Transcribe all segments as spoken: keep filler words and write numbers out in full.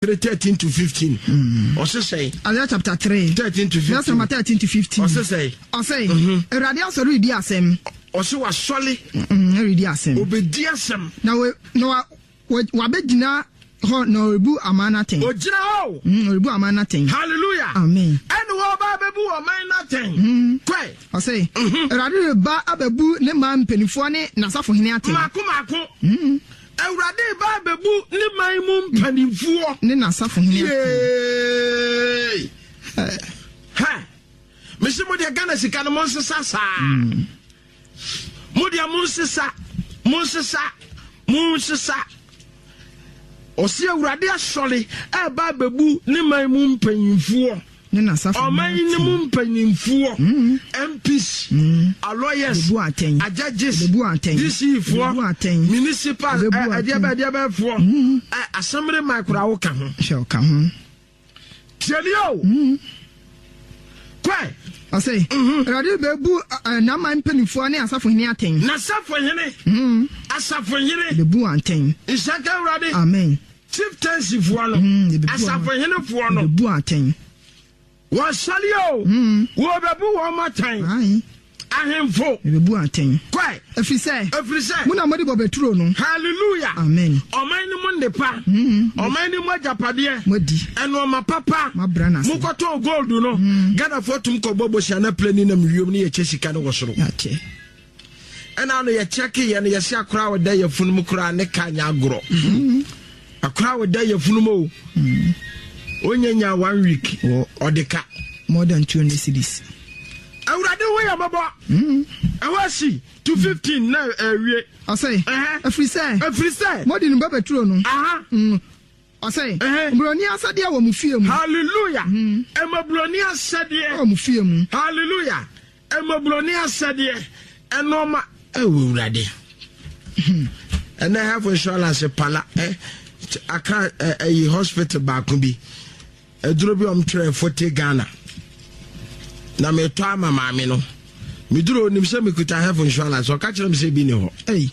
three thirteen to fifteen. Ɔse sɛn? Isaiah chapter three. Thirteen to fifteen. Verse number thirteen to fifteen. Ɔse sɛn? Ɔse, Awurade asɔre redi asɛm. Ɔse wasɔre. Ɛredi asɛm. Obedi asɛm. Na wa na wa wabɛgyina hɔ na ɔrebu aman no atɛn. Ogyina hɔ. Mm, ɔrebu aman no atɛn. Hallelujah. Amen. Ɛna wɔba abɛbu ɔman no atɛn. Kɔɛ. Ɔse, Awurade reba abɛbu ne man mpanimfoɔ ne n'asafohene atɛn. Mako mako. Awurade ba abɛbu ne man mu mpanimfoɔ. Ne n'asafohene atɛn. Yee. Hɛ. Mesi mo deɛ Ghana sika no mo nsesa saa. Mo deɛ mo nsesa, mo nsesa, mo nsesa. Ɔsi Awurade asɔre ɛba abɛbu ne man mu mpanyinfoɔ. Ne n'asafohene Ɔman ne mu mpanyinfoɔ. M Ps, lawyers, Bebu atɛn. judges, Bebu atɛn. D C foɔ, Bebu atɛn. municipal, Bebu ɛdeɛ atɛn. bɛ ɛdeɛ bɛ foɔ, ɛ assembly man koraa woka ho. Hyɛ ɔka ho. Tiɛni o. Kɔɛ. Ɔse, Awurade bɛbu ɛ, n'aman mpanimfoɔ ne asafohene atɛn. N'asafohene. Asafohene. Bebu atɛn. Nhyaka Awurade. Amen. Chieftaincy foɔ no. Mm, yɛbɛbu wɔn. Asafohenefoɔ no. Bebu atɛn. Wɔsɔre o. Wɔbɛbu wɔn atɛn. Ayi. Ahemfo. Bebu atɛn. Kɔɛ. Ɛfiri sɛ, Ɛfiri sɛ. mo na mode bɔbɛturo no. Hallelujah. Amen. Ɔman no mu nnepa. Ɔman no mu agyapadeɛ. Moadi. Ɛnɔɔma papa. Moabrɛ no ase. Mokɔtɔn gold no. Ghanafoɔ tum kɔbɔ bosia na plane nam wiem ne yɛkyɛ sika no wɔ soro. Yɛakyɛ. Ɛna no yɛkyɛke yɛ no, yɛsɛ akora a wɔda yɛfunu mu koraa ne ka nyɛ agorɔ. Akora a wɔda yɛfunu mu o. Ɔnya nya one week Wɔ ɔde ka. More than two hundred cedis. Awurade wo yɛ mɔbɔ. Ɛhɔ asi to fifteen na ɛwie. Ɔse, Ɛhɛ. ɛfiri sɛ, Ɛfiri sɛ. mode no bɔbɛturo no. Aha. Mm. Ɔsɛ, Ɛhɛ. mburoni asɛdeɛ wɔ mo fie mu. Hallelujah. Ɛmɔburoni asɛdeɛ. Wɔ mo fie mu. Hallelujah. Ɛmɔburoni asɛdeɛ. Ɛnɔɔma ɛwɔ Awurade. Ɛnɛ health insurance pala ɛ aka ɛ ɛyi hospital baako bi. Aduro bi a wɔn twerɛ forty Ghana. Na metɔ ama maame no. Meduro onim sɛ mekuta health insurance, ɔka kyerɛ me sɛ bi ni hɔ. Ɛyi.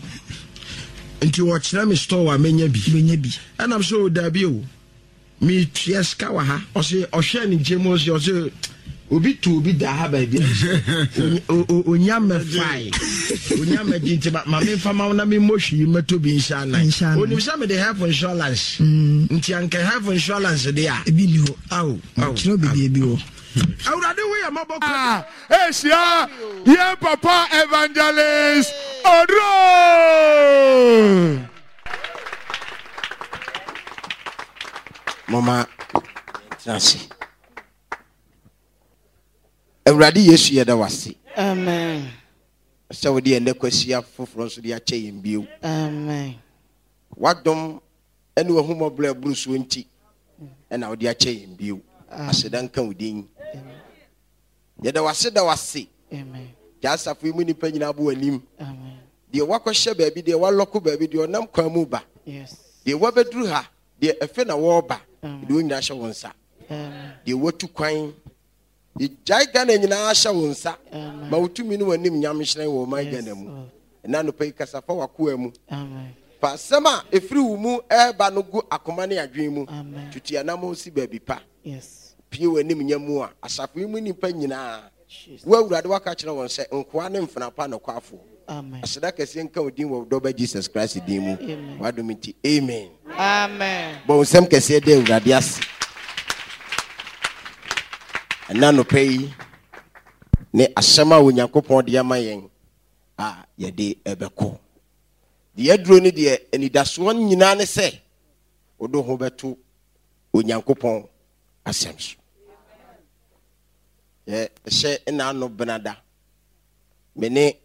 Nti wɔkyerɛ me store a menya bi. Bɛnya bi. Ɛnam sɛ o dabi o, metua sika wɔ ha. Ɔsɛ ɔhwɛ ne nkyɛn mu, ɔsɛ ɔsɛ obi tu obi da ha baabi a onya mɛfae onya mɛgye, nti ma ma memfa ma wo na memmɔ hwii mɛtɔ bi nhyɛ anan. Nhyɛ anan. Onim sɛ mede health insurance, nti anka health insurance de a Ebi ni hɔ. Awo awo. Kyerɛ beebi ebi wɔ. Awurade wo yɛ mmɔbɔ kɔ. Asia, yɛn papa Evangelist Oduro. Mɔma yɛntena ase. Awurade Yesu, yɛda wase Amen. sɛ wode yɛn nnɛ kwasia foforɔ nso de akyɛ yɛn bio. Amen. Wadom ne wahumɔborɔ aburu soɔ nti ɛna wode akyɛ yɛn bio. Aseda nka wo din. Yɛda wase, da wase. Amen. Gya asafo yi mu nnipa nyinaa bo w'anim. Amen. Deɛ wakɔhyɛ baabi, deɛ walɔko baabi, deɛ ɔnam kwan mu ba, Yes. deɛ wabɛduru ha, deɛ ɛfɛ na wɔreba, Amen. deɛ wɔn nyinaa hyɛ wo nsa. Amen. Deɛ watu kwan, yɛgyae Ghana nyinaa hyɛ wo nsa. Amen. Ma wotumi ne w'anim nyam hyerɛn wɔ ɔman Yes, Ghana mu. Lord. Ɛna anɔpa yi, kasa fa w'akoa mu. Amen. Fa asɛm a ɛfiri wo mu ɛreba no gu akoma ne adwene mu. Amen. Tutu anammɔn si baabi pa. Yes. Pie w'anim nya mu a asafo yi mu nnipa nyinaa, Jesus. wo Awurade waka kyerɛ wɔn sɛ nkoa ne mfena pa nokwafoɔ. Amen. Aseda kɛseɛ nka wo din wɔ wo dɔba Jesus Christ din mu. Amen. W'adom nti, amen. Amen. Bɔ wo nsɛm kɛseɛ dɛ Awurade ase. Ɛna nɔpɛ yi ne asɛm a Onyankopɔn de ama yɛn a yɛde ɛbɛkɔ deɛ aduro no deɛ, anidasoɔ nyinaa ne sɛ wode ho bɛto Onyankopɔn asɛm so. Yɛ hyɛ nna ano benada me ne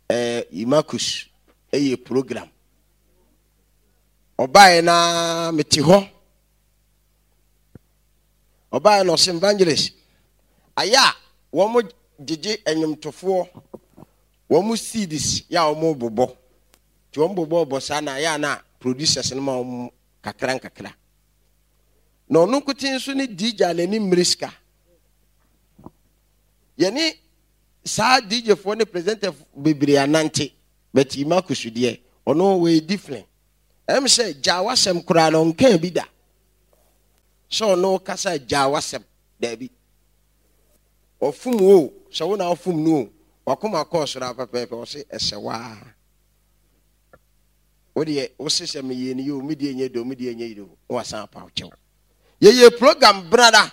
eh, Imakus ɛyɛ program. Ɔbaeɛ na mete hɔ, ɔbaeɛ na ɔsɛ, "Evangelist, ayɛ a wɔn gyegye nnwomtofoɔ wɔn C Ds yɛ a wɔn bobɔ, nti wɔn bobɔ bɔ saa na ayɛ a na producers no ma wɔn kakra nkakra, na ɔno nkote nso ne D J a n'ani mmiri sika. Yɛne saa D J foɔ ne presenter bebree anante, but Imakus deɛ, ɔno wɔyɛ different. Ɛm sɛ gyaa wasɛm koraa na ɔnkaa bi da. Sɛ ɔne wo kasa gyaa w'asɛm. Daabi. Ɔfom wo o, sɛ wo na wofom no o, wakoma kɔɔ soro ara pɛpɛɛpɛ, ɔse ɛsɛ wo ara. Wo deɛ, wose sɛ meyɛɛ no yie o, me deɛ nyɛ dɛ o, me deɛ nyɛ yie o, na wasan apa wo kyɛw. Yɛyɛ program brada.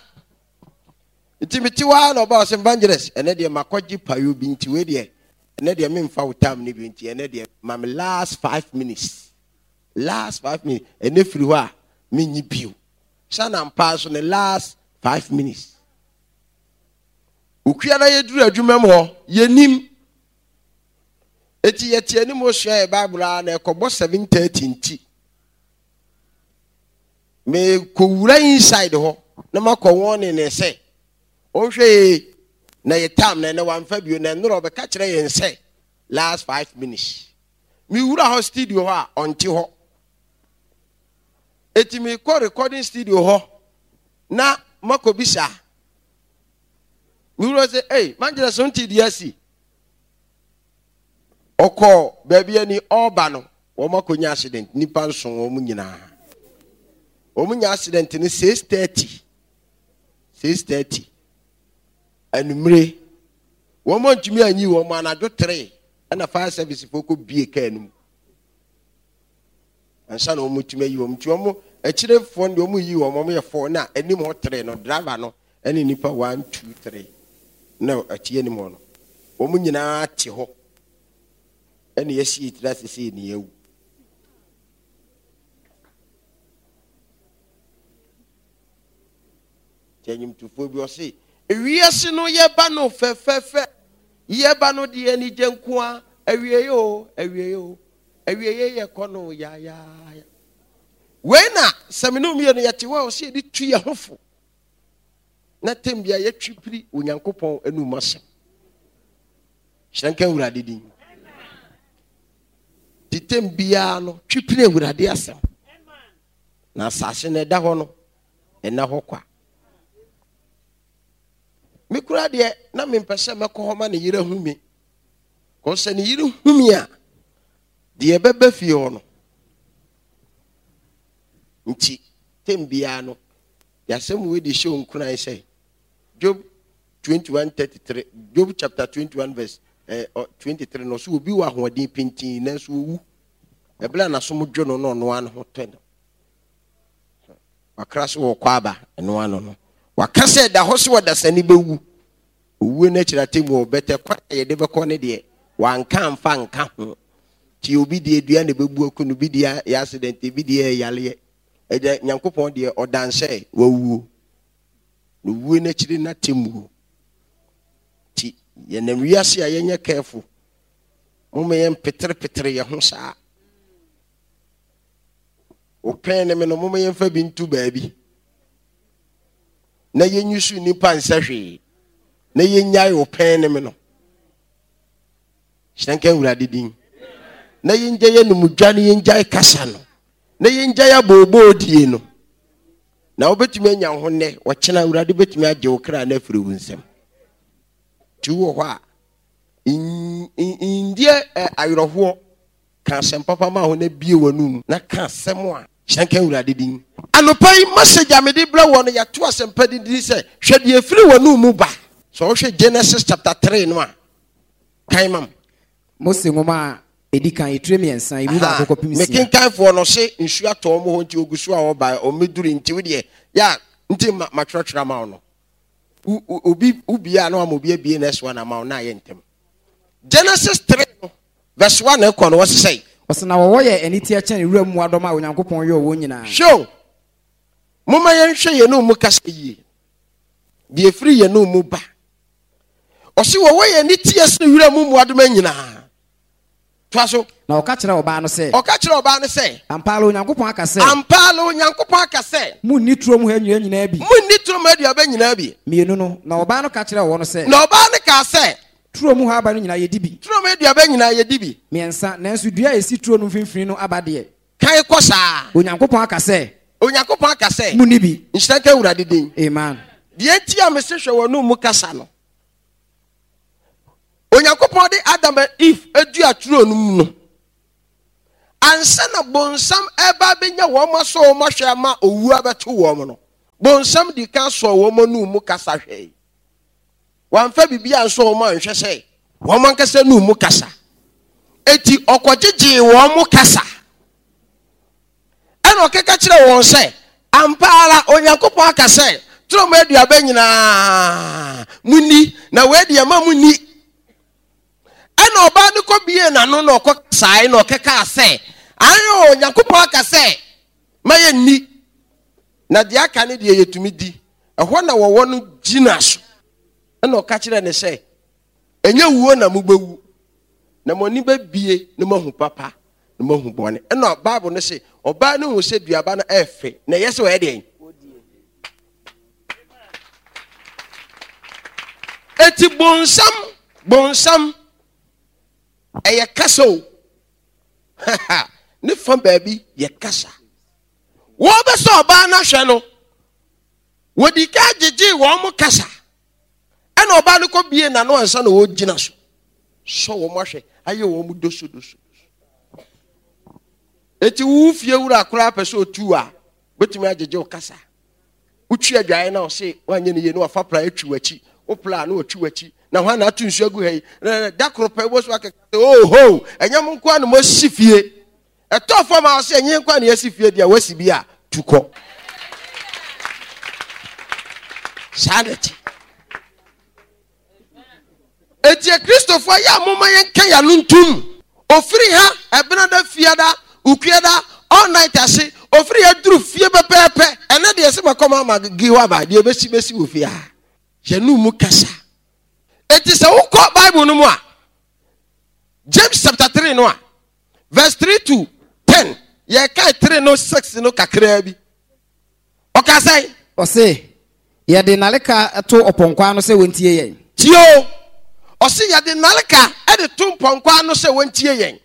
Nti mete hɔ ara na ɔbaa ɔsɛ evangelist, ɛnɛ deɛ makɔgye payo bi nti wei deɛ, ɛnɛ deɛ memfa wo time no bi nti ɛnɛ deɛ ma me last five minutes. Last five minutes, ɛnɛ firi hɔ a menyi bio. Sɛ na mpa nso ne last five minutes. Okua na yɛduru adwuma mu hɔ, yɛnim. Eti yɛte anim osua yɛ Bible a na ɛkɔbɔ seven thirty nti. Mekɔwura inside hɔ na makɔ wɔn ne ne sɛ ɔnhwɛ yie na yɛ tam na ɛnɛ wamfa bio na nnora ɔbɛka kyerɛ yɛn sɛ last five minutes. Mewura hɔ studio hɔ a ɔnte hɔ. Eti mekɔ recording studio hɔ na makɔbisa. Mewura sɛ, ei, mangyina so nte deɛ asi. Ɔkɔ baabi ani ɔreba no, wɔn akɔnya accident, nipa nson wɔn nyinaa. Wɔn nya accident no six thirty. six thirty. Anumere. Wɔn antumi anyi wɔn anadwo three ɛna fire service fo kɔ bie kaa no mu. Ansa na wɔn tumi ayi wɔn. Nti wɔn akyirefoɔ no deɛ wɔn yi wɔn, wɔn yɛ four na anim hɔ three no driver no ɛne nipa one two three na akyi anim hɔ no. Wɔn nyinaa te hɔ. Ɛna yɛsi etiri ase sɛ yɛn awu. Nti enyimtufoɔ bi ɔse ewiase no yɛba no fɛfɛɛfɛ, yɛba no deɛ anigye nko a, awie o, awie o, awie yɛ kɔ no yayaaya. Wei na sɛ me ne mmienu yɛte hɔ a ɔse yɛde tu yɛn ho fo. Na tem bia yɛtwi piri Onyankopɔn anum asɛm. Hyerɛ nka Awurade din. Te tem biara no twi piri Awurade asɛm. Na asase no ɛda hɔ no, ɛna hɔ kwa. Me kura deɛ na mempɛ sɛ mɛkɔ hɔ ma ne yere hu me. Kɔ sɛ ne yere hu me a, deɛ ɛbɛba fie hɔ no. Nti tem biara no, yɛasɛm wei de hyɛ nkuran sɛ Job twenty-one thirty-three, Job chapter twenty-one verse eh, twenty-three no so obi wɔ ahoɔden pintin nanso owu. Ɛbla n'asom dwo no na ɔno ano ho tɔ no. Wakra so wɔ kɔ aba ɛno ano no. Waka sɛ da hɔ so ɔdasani bɛwu. Owuo no akyiri atemmu ɔbɛtɛ kwan a yɛde bɛkɔ ne deɛ wanka amfa nka ho. Nti obi deɛ dua na ɛbɛbu aku no, obi deɛ yɛ accident, ebi deɛ yɛ yareɛ. Ɛgya Nyankopɔn deɛ ɔdan sɛ wawuo. Na owuo no akyiri n'atemmuo. Nti yɛnam wiase a yɛnyɛ careful. Momma yɛn peterepetere yɛn ho saa. Opɛn ne me no, momma yɛmfa bi nto baabi. Na yɛnyi so nnipa nsɛ hwee. Na yɛnyae opɛn ne me no. Hyerɛ nka Awurade din. Na yɛngya yɛn numdwa ne yɛngyae kasa no. Na yɛngyae abooboo die no. Na wobɛtumi anya ho nnɛ, ɔkyena Awurade bɛtumi agye wo kra no afiri wo nsam. Nti wowɔ hɔ a, ndeɛ awerɛhoɔ, ka asɛm papa ma ho na bie w'anum na ka asɛm a hyerɛ nka Awurade din. Anɔpa yi, message a mede brɛ wɔ no, yɛato asɛmpa din din sɛ, hwɛ deɛ ɛfiri w'anum mu ba. Sɛ wohwɛ Genesis chapter three no a, kan mam. Mose nwoma a ɛdi kan, etire mmiɛnsa, emu baako kɔpem nsia. Mekenkanfoɔ no se nsuo atɔ wɔn hɔ nti ogu so a ɔba, ɔmmɛduru nti wo deɛ, yɛ a, nti ma matwerɛtwerɛ ama wo no. Obi, wobie a na wama obi abie next one ama wo na ayɛ ntɛm. Genesis three no, verse one ɛkɔ no, wɔse sɛn? Ɔse na wɔwɔ yɛ aniteɛ kyɛn wuram mmoadɔm a Onyankopɔn yɔɔ wɔn nyinaa. Hwɛ o, momma yɛnhwɛ yɛn mu kasa yie. Deɛ ɛfiri yɛn mu ba. Ɔse wɔwɔ yɛ aniteɛ sene wuram mmoadɔm nyinaa. Toa so. Na ɔka kyerɛɛ ɔbaa no sɛ. Ɔka kyerɛɛ ɔbaa no sɛ. Ampa ara Onyankopɔn aka sɛ. Ampa ara Onyankopɔn aka sɛ. Munni turom ha nnua nyinaa bi. Munni turom ha aduaba nyinaa bi. Mmienu no, na ɔbaa no ka kyerɛɛ ɔwɔ no sɛ. Na ɔbaa no kaa sɛ. Turom ha aba no nyinaa yɛdi bi. Turom aduaba nyinaa yɛdi bi. Mmiɛnsa, nanso dua a ɛsi turo no mfimfini no aba deɛ. Kan kɔ saa. Onyankopɔn aka sɛ. Onyankopɔn aka sɛ. Munni bi. Nhyira nka Awurade din. Amen. Deɛ nti a mese hwɛ w'anom mu kasa no. Onyankopɔn de Adam and Eve adua turo no mu no, ansa na bonsam ɛba abɛnya wɔn asɔ wɔn ahwɛ ama owu abɛto wɔn no, Bonsam di kan sɔɔ wɔn anum mu kasa hwɛe. Wamfa biribi ansɔ wɔn anhwɛ sɛ wɔn ankasa anum mu kasa. Enti ɔkɔgyegyee wɔn mo kasa. Ɛna ɔkeka kyerɛɛ wɔn sɛ, Ampa ara Onyankopɔn aka sɛ, turo mu aduaba nyinaa munni, na wei deɛ mma munni. Ɛna ɔbaa no kɔbiee n'ano na ɔkɔkasae na ɔkɛkaa sɛ, Aane o, Onyankopɔn aka sɛ ma yɛnni, na deɛ aka no deɛ yɛtumi di. Ɛhɔ na wɔwɔ no gyina so. Ɛna ɔka kyerɛɛ no sɛ, Ɛnyɛ wuo na mobɛwu, na mo ani bɛbie na moahu papa na moahu bɔne. Ɛna Bible no se, ɔbaa no hu sɛ duaba no ɛyɛ fɛ, na ɛyɛ sɛ ɔyɛ deɛn? Eti bonsam, bonsam, ɛyɛ kasa o. Ne fa baabi yɛ kasa. Wɔbɛsɛ ɔbaa no ahwɛ no, wɔdi ka gyegyee wɔn mo kasa. Ɛna ɔbaa no kɔ bie n'ano ansa na ɔgyina so. Sɔ wɔn ahwɛ, ayɛ wɔn dosodoso. Eti wo fie wura koraa pɛ sɛ otu a, betumi agyegye wo kasa. Wotwi adwae na ɔse wanyɛ ne yie na wafa pra atwi w'akyi. Wo pra na watwi w'akyi. Na hwan na ato nsuo agu ha yi? Da koro pɛ wobɛso akeka sɛ oho, ɛnyɛ mo nko ara na moasi fie. Ɛtɔ fam a ɔse ɛnyɛ nko ara na yɛasi fie deɛ wasi bi a tu kɔ. Saa na ɛte. Enti Akristofoɔ yɛ a momma yɛnka yɛn ano ntom. Ofiri ha Ɛbenada, Fiada, Ukuada, all night ase, ofiri ha duru fie pɛpɛɛpɛ. Ɛnɛ deɛ sɛ makɔ mama gi hɔ aba, deɛ bɛsi bɛsi wɔ fie ha. Yɛne mu kasa. Enti sɛ wokɔ Bible no mu a, James chapter three no a, verse three to ten, yɛkae three no six no kakraa bi. Ɔka sɛn? Ɔse, Yɛde nnaleka to ɔpɔnkɔ ano sɛ wɔntie yɛn. Tie o! Ɔse, Yɛde nnaleka de to mpɔnkɔ ano sɛ wɔntie yɛn.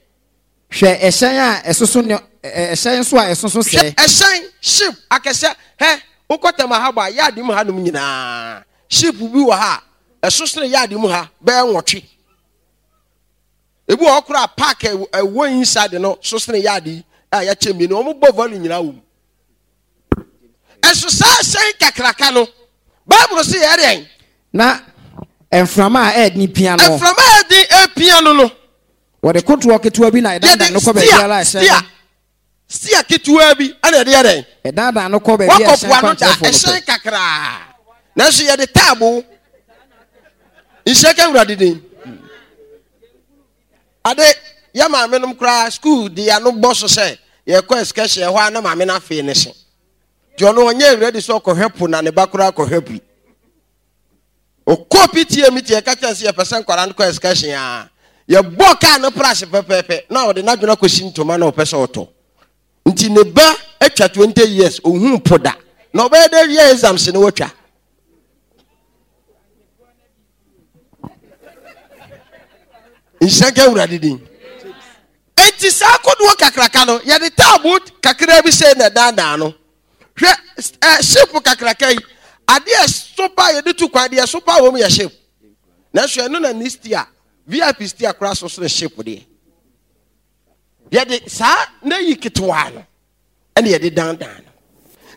Hwɛ ɛhyɛn a ɛsoso ne ɛhyɛn nso a ɛsoso sɛɛ. Hwɛ ɛhyɛn, ship, akɛseɛ. Hɛ, wokɔ Tema Harbour a, yard mu hanom nyinaa, ship bi wɔ ha a, ɛso sene yard mu ha bɛyɛ nwɔtwe. Ebi wɔ hɔ koraa a, park a ɛwɔ inside no so sene yard yi a yɛakyɛ mmienu, wɔbɔ value nyinaa wɔ mu. Ɛso saa hyɛn kakraka no, Bible se yɛ dɛn? Na mframa a ɛyɛ den pia no. Mframa a ɛyɛ den pia no no. Wɔde kodoɔ ketewa bi na ɛdandan no kɔ baabiara a ɛhyɛn no. Stia ketewa bi na ɛde yɛ dɛn? Ɛdandan no kɔ baabi a ɛhyɛn kwankyerɛfoɔ no pɛ. Ɛhyɛn kakraa. Nanso yɛde taabo. Nhyɛ ka Awurade din. Ade, yɛ maame nom koraa school de ano bɔ so sɛ yɛkɔ excursion ɛhɔ a na maame no afei ne se. Nti ɔno ɔnyɛ ready sɛ ɔkɔhwɛ po na ne ba koraa kɔhwɛ pi. Ɔkɔ P T A meeting, ɛka kyerɛ sɛ yɛpɛ sɛ nkwadaa no kɔ excursion a, yɛbɔ kaa no prase pɛpɛɛpɛ na ɔde n'adwene akɔsi ntoma na ɔpɛ sɛ ɔtɔ. Nti ne ba atwa twenty years, ɔhuu po da. Na ɔbɛyɛ dɛ yɛ exams no watwa. Nhyira nka Awurade din. Enti saa kodoɔ kakraka no, yɛde taabo kakra bi sɛ na ɛdaadaa no. Hwɛ ɛ ship kakraka yi, adeɛ ɛso pa yɛde tu kwan, deɛ ɛso pa wɔm yɛ ship. Nanso ɛno na ne steer, V I P steer koraa so sene ship deɛ. Yɛde saa na yi ketewa no ɛna yɛde dandan no.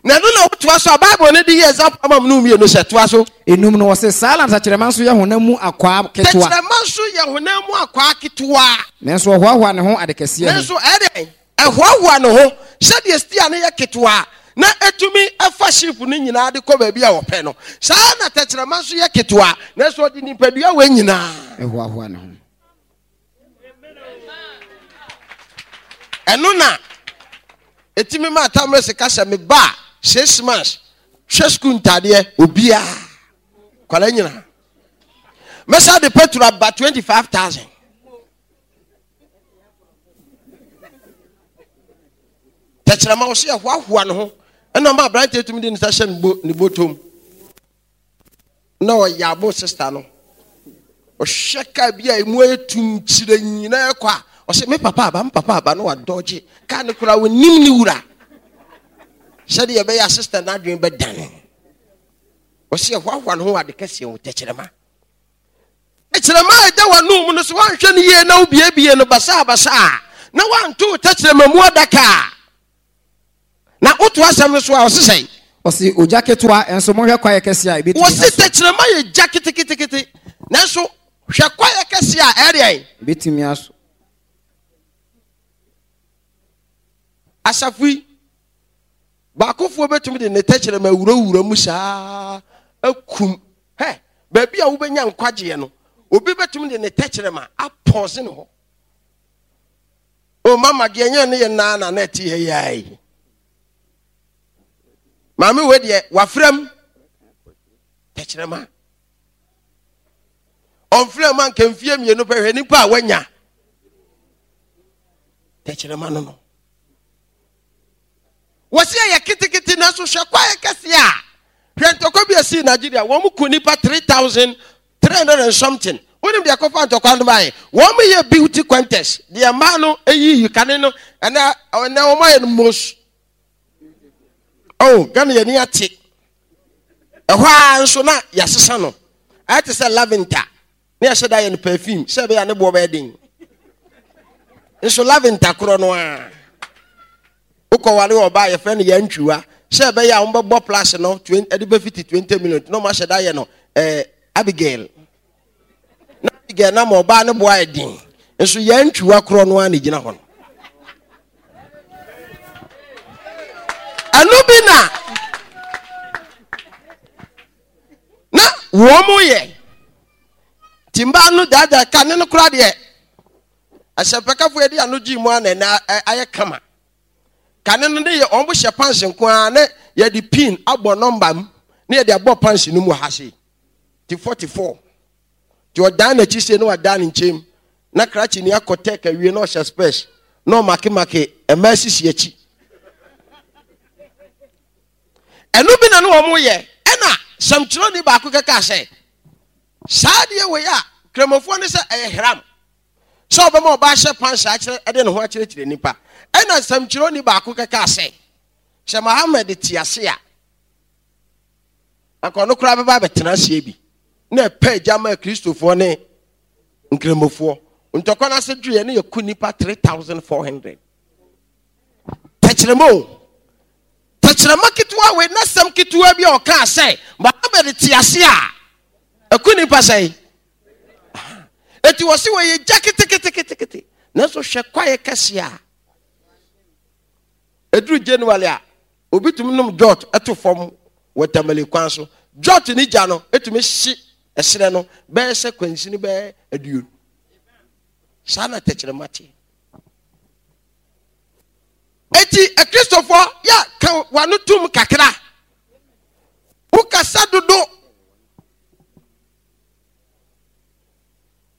Na ɛno na wotoa so a Bible no de yɛ example ama mu no mmienu sɛ toa so. Enum no, wɔse saa na tɛkyerɛma nso yɛ honam mu akwaa ketewa. Tɛkyerɛma nso yɛ honam mu akwaa ketewa. Nanso ɔhoahoa ne ho ade kɛseɛ ho. Nanso ɛyɛ dɛn? Ɛhoahoa ne ho sɛdeɛ steer no yɛ ketewa na ɛtumi fa ship no nyinaa de kɔ baabi a wɔpɛ no. Saa na tɛkyerɛma nso yɛ ketewa, nanso ɔde nipadua wei nyinaa. Ɛhoahoa ne ho. Ɛno na ɛtumi ma atammerɛ sika sɛ me ba a six months hwɛ sukuu ntadeɛ obiara kwala nyinaa mɛsa de petrol aba twenty five thousand. Tɛkyerɛma wɔ so yɛ hoahoa ne ho, ɛna ɔma aberanteɛ tumi de ne nsa hyɛ ne bɔtɔm na ɔyɛ abo sista no. Ɔhwɛ kaa bi a emu ayɛ tum kyerɛ nyinaa kɔ a, ɔsɛ me papa aba, me papa aba, na wadɔgye kaa no koraa onim ne wura sɛdeɛ ɛbɛyɛ a sista no adwene bɛdane. Ɔsɛ ɛhoahoa ne ho ade kɛseɛ ho. Tɛkyerɛma, tɛkyerɛma a ɛda w'anom mu no, so woanhwɛ no yie na wobiebie no basaabasaa na woanto wo tɛkyerɛma mu adaka a, na woto asɛm no so a, ɔse sɛn? Ɔse ogya ketewa nso monhwɛ kwaeɛ kɛseɛ a ɛbɛtumi Wɔse asɔ. Tɛkyerɛma yɛ gya ketekete, nanso hwɛ kwaeɛ kɛseɛ a ɛdeɛn? Ɛbɛtumi asɔ. Asafo yi baakofoɔ bɛtumi de ne tɛkyerɛma awurawura mu saa akum. Hɛ, baabi a wobɛnya nkwagyeɛ no, obi bɛtumi de ne tɛkyerɛma apɔse ne hɔ. O mama deɛ nyɛ ne yɛ naa na na ɛte ha yi ara yi. Maame wei deɛ wafrɛ m tɛkyerɛma. Ɔmfrɛ mu anka mfie mmienu pɛ, hwɛ nipa a wanya tɛkyerɛma no no. Wɔsi ɛyɛ ketekete nanso hwɛ kwaeɛ kɛseɛ a, hwɛ ntɔkwa bi a ɛsii Nigeria, wɔn ku nipa three thousand three hundred and something. Wonim deɛ ɛkɔfa ntɔkwa no baeɛ? Wɔn yɛ beauty contest, deɛ mmaa no eyiyi kane no, ɛnɛ ɛnɛ wɔn ayɛ no most. Oh, Ghana yɛn ni ate. Ɛhɔ ara nso na yɛasesa no. Ayɛ te sɛ lavender. Ne yɛhyɛ da yɛ no perfume sɛ ɛbɛyɛ a ne boɔ bɛyɛ den. Nso lavender korɔ no ara. Wokɔware ɔbaa yɛfrɛ no yɛntwiwa sɛ ɛbɛyɛ a wɔbɛbɔ plus no ɛde bɛfiti twenty million na wɔahyɛ da yɛ no ɛɛ Abigail. Na Abigail na ma ɔbaa ne boɔ ayɛ den. Nso yɛntwiwa korɔ no ara na egyina hɔ no. Ɛno bi na na wɔn yɛ. Nti mmaa no daadaa ka ne no koraa deɛ asɛmpakafo yɛde ano gye mu a na ɛna ayɛ kama. Kane no ne yɛ wɔn hyɛ pants nko ara ne yɛde pin abɔ nɔmba mu ne yɛde abɔ pants no mu ha sei. Ti forty four. Ti ɔdan n'akyi sei na wadan ne nkyɛn mu. Na krakye ni akɔ tɛk awie na ɔhyɛ spɛs na ɔmakemake mmaa sisi akyi. Ɛno bi na ne wɔn yɛ. Ɛna sɛmtwerɛni baako kɛkaa sɛ saa adeɛ wei a kramofoɔ ne sɛ ɛyɛ haram sɛ ɔbɛma ɔbaa hyɛ pants akyerɛ ɛde ne ho akyerɛkyerɛ nipa. Ɛna sɛmtwerɛni baako kɛkaa sɛ sɛ Muhammad te ase a anka ɔno koraa bɛba abɛtena aseɛ bi na ɛpɛ agya ma Kristofoɔ ne nkramofoɔ. Ntɔkwa no ase dweɛ ne yɛku nipa three thousand four hundred. Tɛkyerɛma o, tɛkyerɛma ketewa wei na sɛm ketewa bi a ɔkaa sɛ Muhammad te ase a ɛku nipa sɛn. Eti wɔ se wɔyɛ gya keteketekete nanso hwɛ kwaeɛ kɛseɛ a ɛduru January a obi tumi nom jot ɛto fam wɔ Tamale kwan so. Jot ne gya no ɛtumi hye ɛserɛ no bɛyɛ sɛ kwansini bɛyɛ aduonu. Saa na tɛkyerɛma teɛ. Eti Akristofoɔ yɛ ka wano tum kakra. Wokasa dodo.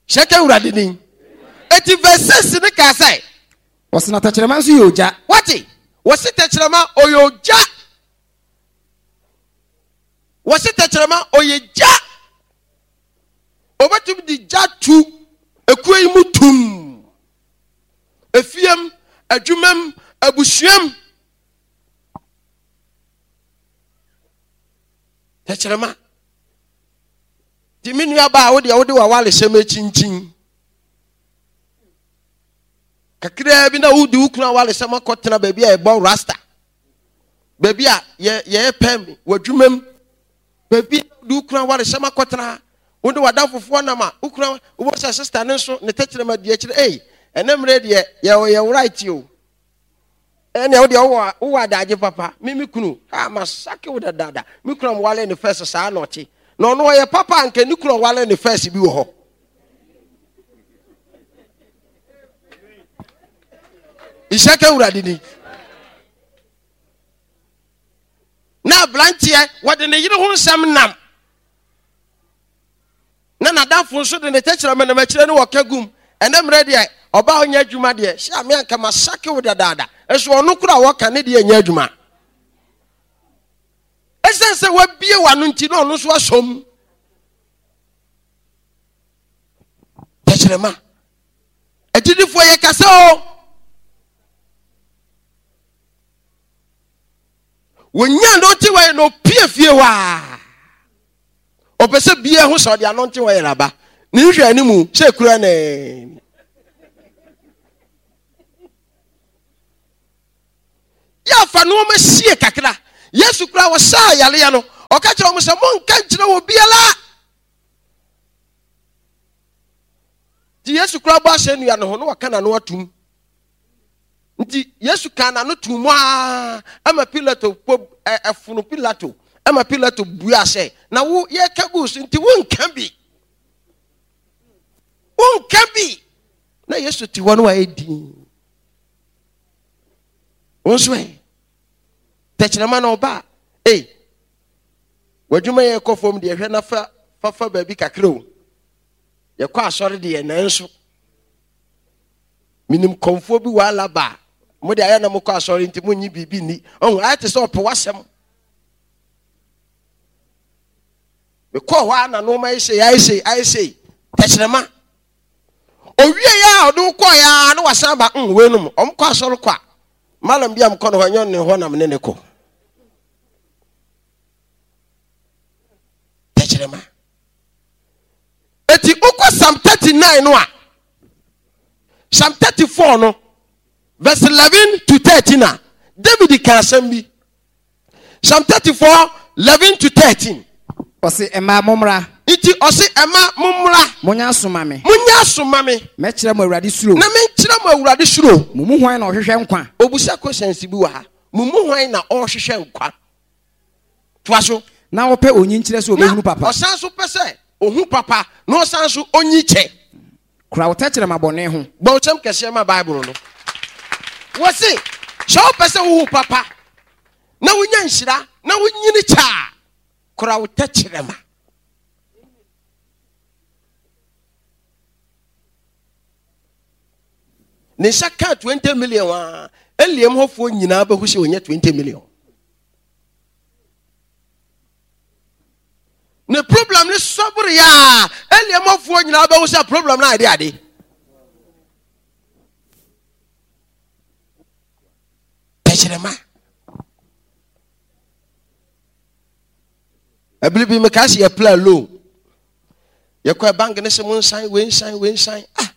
Hyɛ ka Awurade din. Eti verse six ne kaa sɛ. Wɔsi na tɛkyerɛma nso yɛ ogya. Wate? Wɔsi tɛkyerɛma ɔyɛ ogya. Wɔsi tɛkyerɛma ɔyɛ gya. Obetumi de gya tu ekuo yi mu tum. Efiem, adwumam, abusuam. Tɛkyerɛma. Ti me nua baa wo deɛ wode w'awaresɛm akyinkyin. Kakraa bi na wode wo kunu awaresɛm akɔtena baabi a yɛbɔ rasta. Baabi a yɛ yɛyɛ pɛm wɔ adwumam. Baabi a wode wo kunu awaresɛm akɔtena. Wode w'adamfofoɔ nam a wo kunu wobɔ sɛ sista ne nso ne tɛkyerɛma di akyire. Ei, ɛnɛ mmerɛ deɛ yɛwɔ yɛ right o. Ɛnna wo deɛ wowɔ wowɔ adagye papa. Me me kunu, ha masake wo dadaada. Me kunu a mewale ne first saa na ɔte. Na ɔno ɔyɛ papa a nka ne kunu a ɔwale ne first bi wɔ hɔ. Nhyɛ ka Awurade ni. Na aberanteɛ wɔde ne yere ho nsɛm nam. Na n'adamfo nso de ne tɛkyerɛma nam akyire ne wɔka gum. Ɛnɛ mmerɛ deɛ ɔbaa ɔnyɛ adwuma deɛ hyɛ ame anka masake wo dadaada. Nso ɔno koro a wɔka ne deɛ nyɛ adwuma. Ɛsiane sɛ wabie w'ano nti na ɔno nso asɔm. Tɛkyerɛma. Agyidifoɔ yɛ kasa o. Wɔnya anointing oil na ɔpie fie hɔ a. Ɔpɛ sɛ bia ho sɛ ɔde anointing oil aba. Ne nhwɛ anim sɛ ekura na yɛafa nneɛma sie kakra. Yesu koraa wɔsaa yareɛ no, ɔka kyerɛ wɔn sɛ monka nkyerɛ wɔ biara. Nti Yesu koraa bɔ asɛnnua no ho na wɔka n'ano atum. Nti Yesu kaa n'ano tum mu ara ama Pilato po ɛfono Pilato ama Pilato bua sɛ, na wo yɛka gu so nti wonka bi. Wonka bi. Na Yesu te hɔ no wayɛ din. Wo nso ɛ tɛkyerɛma na ɔba a, ei, w'adwuma yɛ kɔ fam deɛ hwɛ na fa fafa baabi kakra o. Yɛkɔ asɔre deɛ nanso menim kɔmfoɔ bi wɔ Alaba a mo de ayɛ na mokɔ asɔre nti monyi biribi nni. Ɔho ayɛ te sɛ ɔpɛ w'asɛm. Mekɔɔ hɔ a na nneɛma ayɛ sei ayɛ sei ayɛ sei tɛkyerɛma. Owie yɛ a ɔde wo kɔɔ yɛ a na wasan ba mm weinom ɔmo kɔ asɔre kɔ a malam bi a mekɔ no hɔ ɛnyɛ ne hɔ na mene ne kɔ. Tɛkyerɛma. Eti wokɔ Psalm thirty nine no a, Psalm thirty four no verse eleven to thirteen a, David ka asɛm bi. Psalm thirty four eleven to thirteen. Ɔse, Mmaa, mommra. Nti ɔse, Mmaa, mommra. Monyɛ aso ma me. Monyɛ aso ma me. Mɛkyerɛ mo Awurade suro. Na menkyerɛ mo Awurade suro. Mo mu hwan na ɔhwehwɛ nkwa? Obusa questions bi wɔ ha. Mo mu hwan na ɔhwehwɛ nkwa? Toa so. Na ɔpɛ onyinkyerɛ sɛ ɔbɛhunu papa. Na ɔsan so pɛ sɛ ohu papa na ɔsan so onyi kyɛ. Kora wo tɛkyerɛma bɔne ho. Bɔ wo kyɛm kɛseɛ ma Bible no. Wɔse sɛ wopɛ sɛ wohu papa na wonya nhyira na wonyini kyɛ a, kora wo tɛkyerɛma. Ne nsa kaa twenty million a, Eliam hɔfoɔ nyinaa bɛhu sɛ ɔnya twenty million. Ne problem ne sɔbere yɛ a, Eliam hɔfoɔ nyinaa bɛhu sɛ problem no ayɛ ade. Tɛkyerɛma. Ɛbere bi mekaa sɛ yɛpla loan. Yɛkɔ bank ne sɛ mo nsan wei nsan wei nsan. Ah,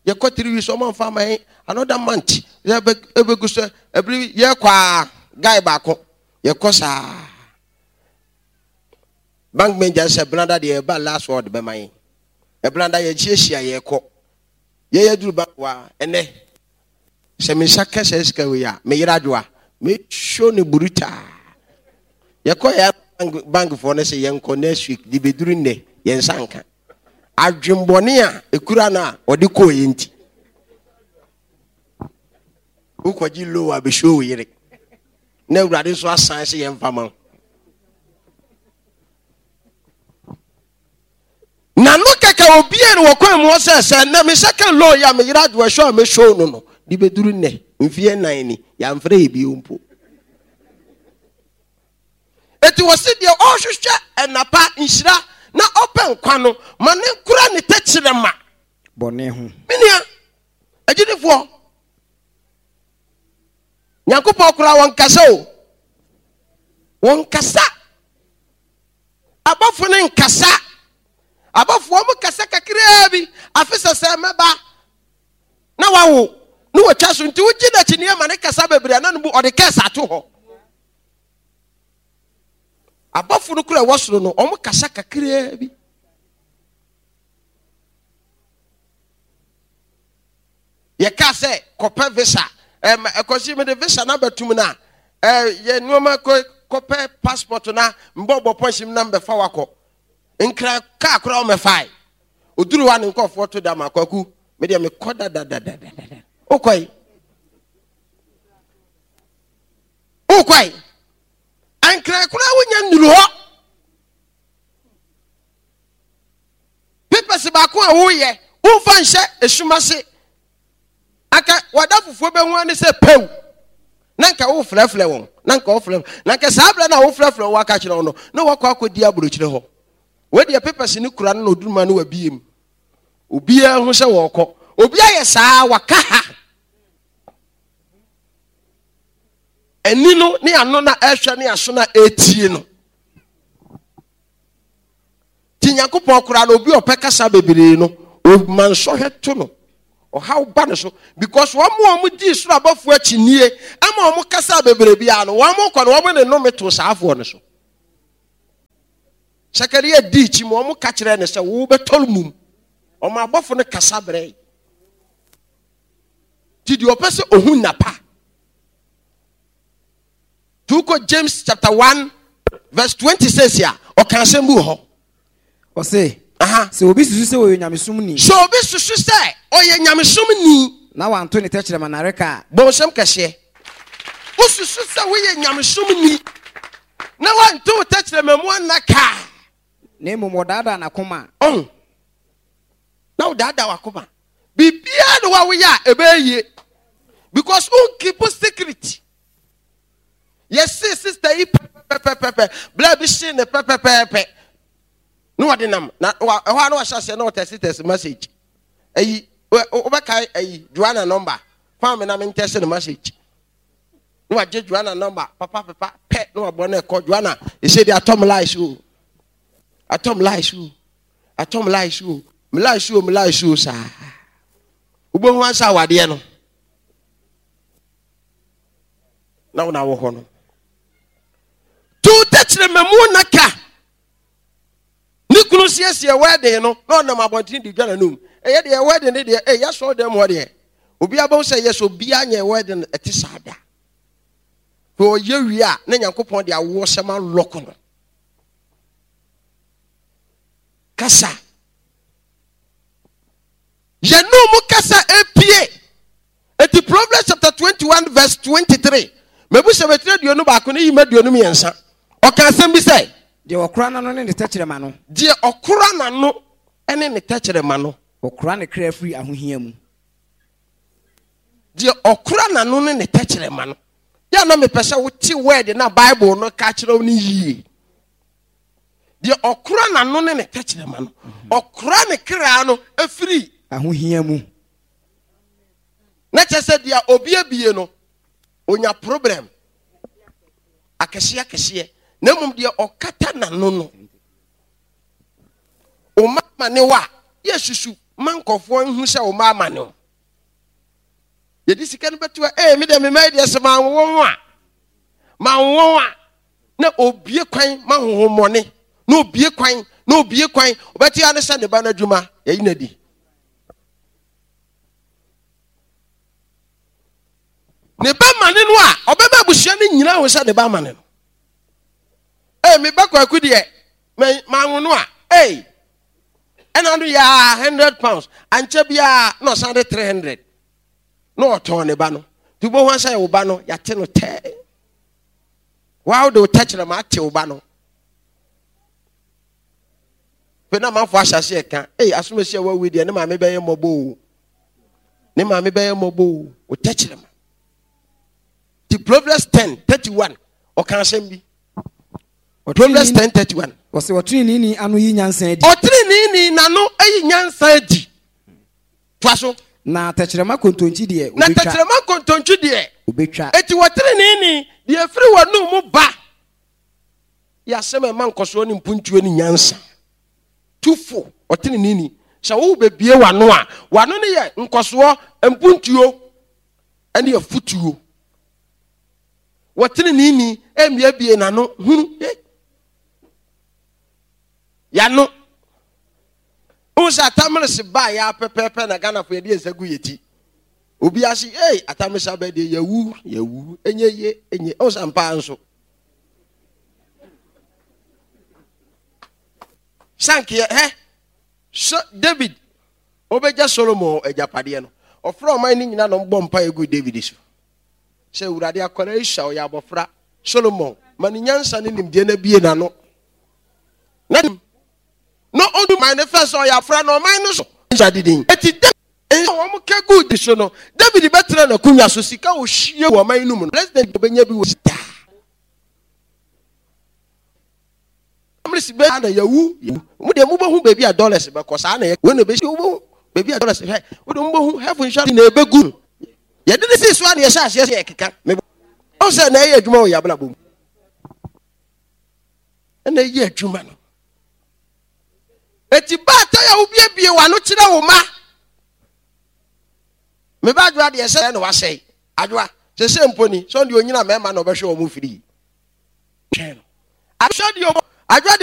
yɛkɔ three weeks ɔmo anfa ama yɛn another month yɛbɛ ɛbɛgu so ɛbere yɛkɔ a guy baako yɛkɔ saa. Bank manager sɛ benada deɛ ɛba last word bɛma yɛn. Ɛbenada yɛhyiahyia yɛkɔ. Yɛyɛ duru bank wa ɛnɛ sɛ me nsa kɛ sɛ sika wei a me yere adwoa me show ne brutal. Yɛkɔ yɛ bank bankfoɔ no sɛ yɛnkɔ next week de bɛduru nnɛ yɛn nsa nka. Adwembɔne a ekura no a ɔde kɔɔ yɛ nti. Wokɔgye low a bɛhyɛ wo yere. Na Awurade nso asan sɛ yɛmfa ma wo. Na no kɛkɛ obie no wɔ kwan mu hɔ sɛ sɛ nnɛ me nsa ka low yi a me yere adwoa show a mɛshow no no de bɛduru nnɛ mfeɛ nnan ni yɛamfrɛ yɛ bio mpo. Eti wɔsi deɛ ɔrehwehwɛ ɛnapa nhyira na ɔpɛ nkwa no ma ne nkura ne tɛkyerɛma bɔne ho. Me nua agyidifoɔ, Nyankopɔn koraa wɔnkasa o, wɔnkasa. Abɔfo no nkasa. Abɔfo wɔn kasa kakraa bi. Afe sɛ sɛ mɛba na wawo na wɔtwa so nti wogye n'akyi nneɛma ma ne kasa bebree na no bu ɔde kɛse ato hɔ. Abɔfo no kura ɛwɔ soro no wɔn kasa kakraa bi. Yɛka sɛ kɔpɛ visa ɛm ɛkɔsi mede visa na bɛtum na ɛɛ yɛ nneɛma kɔ kɔpɛ passport na mbɔ bɔ pɔnsi na mbɛfa wakɔ nkran kaa koraa ɔmɛfae oduru hɔ a ne nkɔfoɔ to da ma kwaku me deɛ mekɔ dadadadadada wokɔe wokɔe nkran koraa wonya nnuru hɔ papers baako a woyɛ womfa nhyɛ esum ase anka wada fufuo bɛhu ane sɛ pɛw na nka wofrɛfrɛ wɔn na nka wofrɛ na nka saa berɛ no a wofrɛfrɛ wɔn aka kyerɛ wɔn no na wakɔ akɔdi aburokyerɛ hɔ wei deɛ papers no kura no na oduruma no wabie mu obiara hu sɛ wɔrekɔ obi ayɛ saa waka ha ani no ne ano na ɛhwɛ ne aso na ɛretie no Nti Nyankopɔn koraa no, obi a ɔpɛ kasa bebree no, ɔma nsɔhwɛ to no. Ɔhaw ba ne so because wɔn a wɔn di soro abɔfoɔ akyi nie ɛma wɔn kasa bebree biara no wɔn kɔ no wɔn ne nnome to saafoɔ no so. Sakaria dii akyi ma wɔn ka kyerɛ ne sɛ wɔbɛtɔ mum. Wɔn abɔfo no kasa brɛ. Ti deɛ ɔpɛ sɛ ohun napa. Tuko James chapter one verse twenty six a ɔka asɛm bi wɔ hɔ. Ɔse, sɛ obi susu sɛ ɔyɛ nyamesom ni. Sɛ obi susu sɛ ɔyɛ nyamesom ni. Na wanto ne tɛkyerɛma nnareka a. Bɔnsɛm kɛseɛ. Wosusu sɛ woyɛ nyamesom ni. Na wanto wo tɛkyerɛma mu annaka a. Na mmom ɔdaadaa n'akoma. Ɔho. Na wodaadaa w'akoma. Biribiara ne hɔ a woyɛ a ɛbɛyɛ yie. Because wo keep secret. Yɛse sister yi pɛpɛpɛpɛ bla bi hye ne pɛpɛpɛpɛ na wɔde nam na ɛhɔ a na wahyɛ aseɛ na ɔtɛse tɛse message ayi wobɛkae ayi Joanna number fa me na mentɛse no message na wagye Joanna number papa pepa pɛ na wabɔ no ɛkɔ Joanna ɛsɛ de atɔm lies o atɔm lies o atɔm lies o me lies o me lies o saa wobɛhu ansa awadeɛ no na wona wɔ hɔ no to tɛkyerɛma mu na ka ne kunu siesie wedding no na ɔnam abɔnten de dwa n'anum ɛyɛ deɛ wedding ne deɛ ɛyɛ asɔre dɛm hɔ deɛ obiara bɛhu sɛ yɛ sɛ obiara nyɛ wedding ɛte saa da na ɔyɛ wie a na Nyankopɔn de awoɔ sɛm alɔko no kasa yɛnum mu kasa epie. Eti Proverbs chapter twenty one verse twenty three. Mebu sɛ bɛtiri aduonu baako ne yima aduonu mmiɛnsa. Ɔka asɛm bi sɛ. Deɛ ɔkora n'ano ne ne tɛkyerɛma no. Deɛ ɔkora n'ano ne ne tɛkyerɛma no. Ɔkora ne kra firi ahohia mu. Deɛ ɔkora n'ano ne ne tɛkyerɛma no. Yɛ na mepɛ sɛ wote word na Bible no ka kyerɛ wo no yie. Deɛ ɔkora n'ano ne ne tɛkyerɛma no. Ɔkora ne kra no firi ahohia mu. Na kyerɛ sɛ deɛ obi abie no onya problem akɛseɛ akɛseɛ na mmom deɛ ɔkata n'ano no ɔma amane wa yɛ susu ma nkɔfoɔ nhu sɛ ɔma amane o yɛde sika no bɛto a ee me deɛ me mma yi deɛ sɛ manwo ho a manwo a na obie kwan ma honhommɔne na obie kwan na obie kwan ɔbɛte ya ne sɛ ne ba no adwuma yɛyi no adi ne ba ma ne no a ɔbɛma abusua no nyinaa ho sɛ ne ba ma ne no ee me ba kwaku deɛ manwo no a ee ɛna no yɛ hundred pounds ankyɛ biara na ɔsan de three hundred na ɔtɔn ne ba no nti wobɛhu asɛ wo ba no yɛate no tɛɛ waa wode wo tɛkyerɛma ate wo ba no Afei na amanfoɔ ahyɛ aseɛ ka, ei asomasi a wawu deɛ ne maame bɛyɛ mmɔbɔ o. Ne maame bɛyɛ mmɔbɔ o. Wo tɛkyerɛma. Ti Proverbs ten thirty one ɔka asɛm bi. Proverbs ten thirty one. Ɔsɛ ɔteneneeni ano yi nyansa adi. Ɔteneneeni n'ano yi nyansa adi. Toa so. Na tɛkyerɛma kontonkyi deɛ obetwa. Na tɛkyerɛma kontonkyi deɛ obetwa. Eti wɔteneneeni deɛ efiri wɔn mu ba. Yɛ asɛm a ɛma nkɔsoɔ ne mpuntuo ne nyansa. Tu fo, ɔteneneeni. Sɛ wobɛbie w'ano a, w'ano no yɛ nkɔsoɔ, mpuntuo ne afutuo. Wɔteneneeni mmiabie n'ano hunu. Yɛano. Wohu sɛ atamelese baa yɛ pɛpɛɛpɛ na Ghanafoɔ yɛde yɛn nsa gu yɛ ti. Obi ase, ei, atamelese abɛ deɛ yɛwu, yɛwu, ɛnyɛ yie, ɛnyɛ. Wohu sɛ ampa nso. Sankeɛ hɛ so David ɔbɛgya Solomon agyapadeɛ no ɔfrɛ ɔman no nyina na ɔmbɔ mpa egu David so sɛ Awurade akwadaa yi sua ɔyɛ abɔfra Solomon ma ne nyansa ne nimdeɛ no abie n'ano na na ɔdu man no fɛ sɛ ɔyɛ afra na ɔman no so nsa didin eti David nsa wɔn ka gu di so no David bɛtena n'akonnwa so sika ohwie wɔ ɔman no mu no president ɔbɛnya bi wɔ daa Dollars bɛ na yɛwu mo deɛ mobɛhu baabi a dollars bɛkɔ saa na yɛ wei na ɛbɛsi wobɛhu baabi a dollars hwɛ wode mobɛhu heaven nhyɛ na ɛbɛgu yɛde ne sii so a na yɛhyɛ aseɛ sɛ yɛkeka mebɔ sɛ na ɛyɛ adwuma wɔ yɛ abrabɔ mu ɛna ɛyɛ adwuma no eti baatan a wobiebie w'ano kyerɛ wo ma Meba Adwoa deɛ sɛ na wasɛe. Adwoa, sɛ sɛ mpo ni, sɛ ɔde onyina mmarima na ɔbɛhwɛ wɔn firi. Twɛn no. Ahwɛ deɛ Adwoa deɛ